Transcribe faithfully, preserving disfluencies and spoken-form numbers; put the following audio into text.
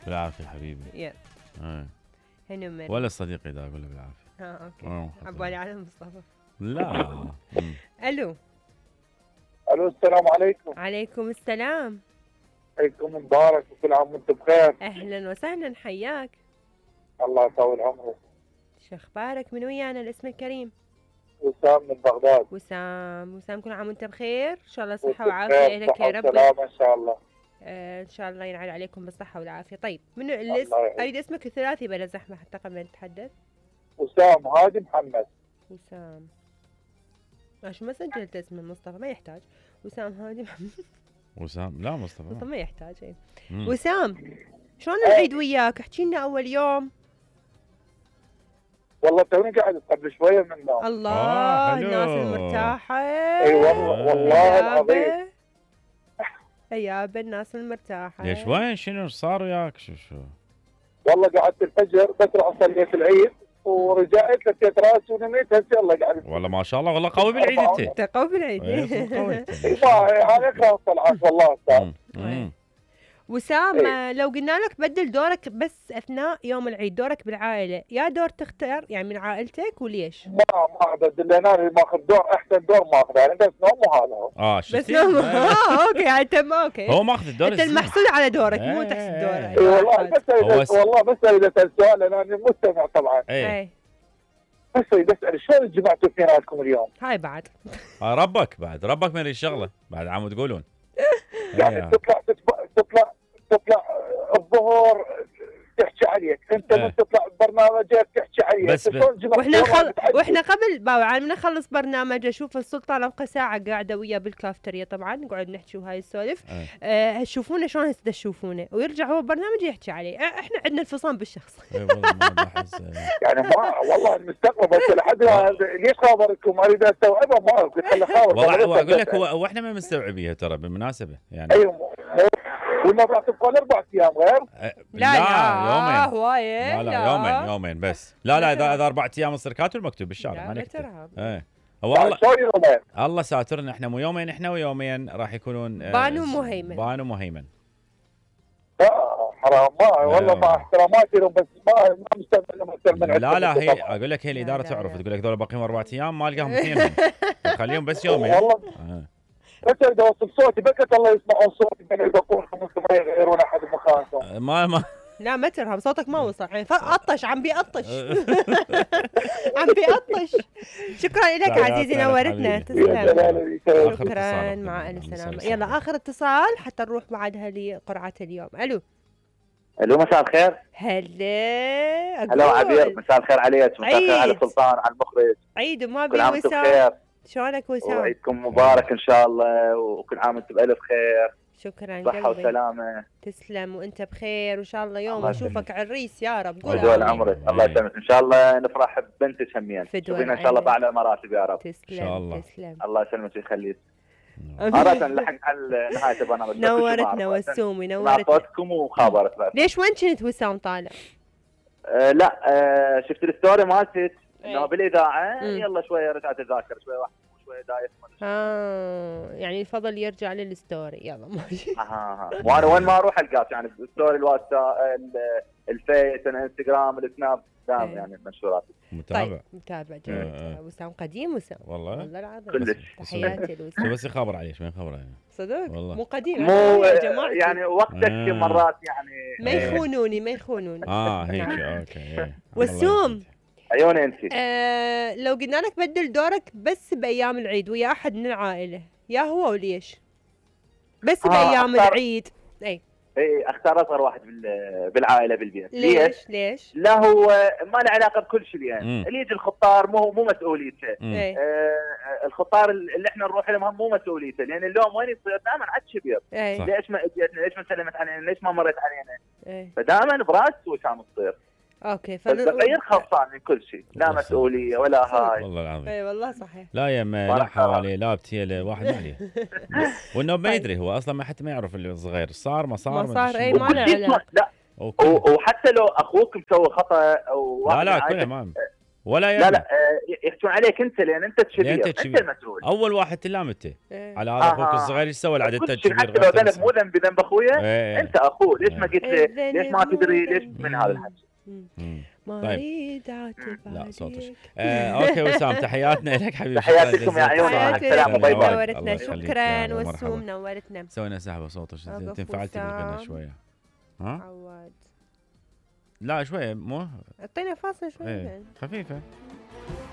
بالعافيه حبيبي. يلا ايه هنو مريم ولا صديقي اذا اقول له بالعافيه. اه اوكي آه، عبالي على مصطفى. لا. مم. الو. الو السلام عليكم. عليكم السلام. عيدكم مبارك وكل عام وانتم بخير. اهلا وسهلا حياك. الله يطول عمرك. شو اخبارك؟ من ويانا الاسم الكريم؟ وسام من بغداد. وسام. وسام كل عام وانت بخير، ان شاء الله صحه وانتم وعافيه بخير، لك يا صحة رب. وسلامة ان شاء الله. آه ان شاء الله ينعاد عليكم بالصحه والعافيه. طيب منو الله الاسم؟ يعينك. اريد اسمك الثلاثي بلا زحمه حتى قبل ما نتحدث. وسام هادي محمد. وسام. عشان ما سجلت اسم مصطفى ما يحتاج. وسام هادي محمد. وسام لا مصطفى مصطفى ما يحتاج. اي مم. وسام شلون العيد وياك؟ احكي لنا اول يوم. والله توني قاعد قبل شويه من النوم. الله آه، حلو. الناس المرتاحه. اي والله والله العظيم. يابا الناس المرتاحه. ليش وين شنو صار وياك؟ شو شو والله قعدت الفجر بسرعه صليت العيد ورجعت لفيت راسي ونميت هسه يلا قاعد. والله ما شاء الله والله قوي بالعيد انت. انت قوي بالعيد. إيه، صدق قوي انت. اي ما هذا اكره الطلعات والله استاذ. مم. مم. وسام إيه. لو قلنا لك بدل دورك بس اثناء يوم العيد، دورك بالعائله، يا دور تختار يعني من عائلتك وليش؟ ما ما بدل انا ماخذ دور احسن دور ماخذه يعني بس نوم وهذا هو. اه شفتي؟ بس نوم. اه اوكي يعني تم اوكي. هو ماخذ الدور انت الزين. المحسود على دورك مو إيه. تحسد اي دورك. والله بس هو اريد س- والله بس اريد اسال سؤال لان انا مستمع طبعا. ايه اي بس اريد اسال شلون جمعتوا اثنيناتكم اليوم؟ هاي بعد. آه، ربك بعد ربك من الشغله بعد عم تقولون. يعني إيه. تطلع تطلع تطلع تطلع الظهر تحكي عليك، انت إيه. من تطلع برنامجك تحكي عليك. بس ب- شلون جمعتوا واحنا يوم خل... متعدد؟ واحنا قبل باو على ما نخلص برنامج اشوف السلطان ابقى ساعه قاعده وياه بالكافتريا طبعا نقعد نحكي وهاي السوالف. إيه. آه شوفونا شلون هسه تشوفونه ويرجع هو برنامج يحكي عليه. آه احنا عندنا الفصام بالشخص. إيه والله ما بحس. إيه. يعني ما والله المستقبل بس لحد الآن ليش خابركم؟ اريد استوعبها ما قلت خلي خابر. والله هو اقول لك هو هو احنا ما مستوعبيها ترى بالمناسبه يعني. ايوه ولا راح تبقى اربع ايام غير؟ إيه، لا لا يومين. هوايه. لا لا يومين يومين بس. لا لا اذا اذا اربع ايام تصير كاتب مكتوب بالشارع لا ما لا نكتب. ترهب. ايه هو يعني الله شلون يومين؟ الله ساترنا احنا مو يومين احنا ويومين راح يكونون. آه، بانو مهيمن. بانو مهيمن. لا حرام ما والله مع احتراماتي لهم بس ما ما مستعمل لهم اكثر من لا لا عندكم هي طبعاً. اقول لك هي لا الاداره لا تعرف لا. تقول لك ذول باقيهم اربع ايام ما القاهم اثنينهم. خليهم بس يومين. والله آه. بس اريد اوصل صوتي بكت الله يسمعون صوتي من يبقون خمس ما يغيرون احد مكانهم. ما ما لا ما ترهب صوتك ما وصل يعني فقطش عم بيقطش. عم بيقطش. شكرا لك لا، عزيزي لا، نورتنا حبيبي. يا تسلم. جلالي آخر شكرا اتصال. مع الف الله سلامة. يسلمك. يلا اخر اتصال حتى نروح بعدها لقرعة اليوم. الو. الو مساء الخير. هلا هلا عبير مساء الخير عليك. مساء الخير على عيد. سلطان على المخرج. عيد وما كل عام بي وانتم وسام. بخير شلونك وسام؟ وعيدكم مبارك ان شاء الله وكل عام وانتم بالف خير شكرا صحه قلبي. وسلامه. تسلم وانت بخير وان شاء الله يوم الله اشوفك عريس يا رب. قول ودول آمين. عمرك الله يسلمك ان شاء الله نفرح ببنتك همين. فدوى تشوفينا ان شاء الله العين. باعلى المراتب يا رب. تسلم إن شاء الله. تسلم. الله يسلمك ويخليك. مرة نلحق على نهاية البرنامج. نورتنا وسومي نورتنا. صوتكم وخابرت بس. ليش وين كنت وسام طالع؟ آه لا آه شفت الستوري مالتك انه إيه. بالاذاعه مم. يلا شويه رجعت اذاكر شويه واحد شويه دايخ. اه يعني الفضل يرجع للستوري. يلا ماشي. ها ها وانا وين ما اروح القاك يعني الستوري الواتساب ال- الفيس الانستغرام السناب دام إيه. يعني منشورات. متابع. طيب متابع آه، جيد. آه. وسام قديم وسام والله والله العظيم. كلش. تحياتي شو لوسام. بس يخبر عليه شو يخبر عليه. صدق والله. مو قديم مو يا جماعة يعني وقتك آه. مرات يعني ما يخونوني ما يخونوني. اه هيك نعم. اوكي. إيه. وسوم. الله عيوني انت. آه لو قلنا لك بدل دورك بس بايام العيد ويا احد من العائله يا هو وليش؟ بس آه، بايام أختار- العيد. اي اي اختار اصغر واحد بال- بالعائله بالبيت. ليش ليش؟ لا هو ما له علاقه بكل شيء يعني مم. اللي يجي الخطار مو مو مسؤوليته. مم. اي آه الخطار اللي احنا نروح لهم هم مو مسؤوليته لان اللوم وين يصير دائما عاد شبير. اي صح. ليش ما اجيتنا ليش ما سلمت علينا ليش ما مرت علينا اي فدائما براس وسام تصير. اوكي فالتغيير خلصان من كل شيء لا الله مسؤوليه ولا هاي. والله العظيم. اي والله صحيح. لا يما لا بارك حواليه لا بتيله واحد ما عليه. وانه ما يدري هو اصلا ما حتى ما يعرف اللي صغير صار ما صار ما أدري صار، شنو. أي ما له وكل شيء علاقة. لا وكل- و- وحتى لو اخوك مسوي خطا او لا واحد لا من كله عائلتك ما ولا لا يا لا آه، يحكون عليك انت لان انت الكبير، لأن أنت انت, الكبير. المسؤول. اول واحد تلام انت إيه. على هذا اخوك آه. الصغير ايش سوى العدد كل انت شيء الكبير حتى لو غلطت ذنب نفسك. مو ذنب ذنب اخويا، إيه. انت اخوه ليش ما قلت لي الذنب ليش ما مو تدري ليش ذنب. من هذا الحكي؟ مم. ما طيب. اريد اعتب لا صوتش. عليك. آه، اوكي وسام تحياتنا لك حبيبي. تحياتي شكراً لكم يا جزيلاً. عيون، مع تحياتي السلامة، لك، باي باي. الله نورتنا. يخليك، شكرا يلا، مرحبا. والسوم نورتنا. سوينا سحبه صوتش أقف تنفعلتي بالغنى وسام. شويه. ها؟ عواد لا شويه مو اعطينا فاصل شوي ايه بعد. خفيفه.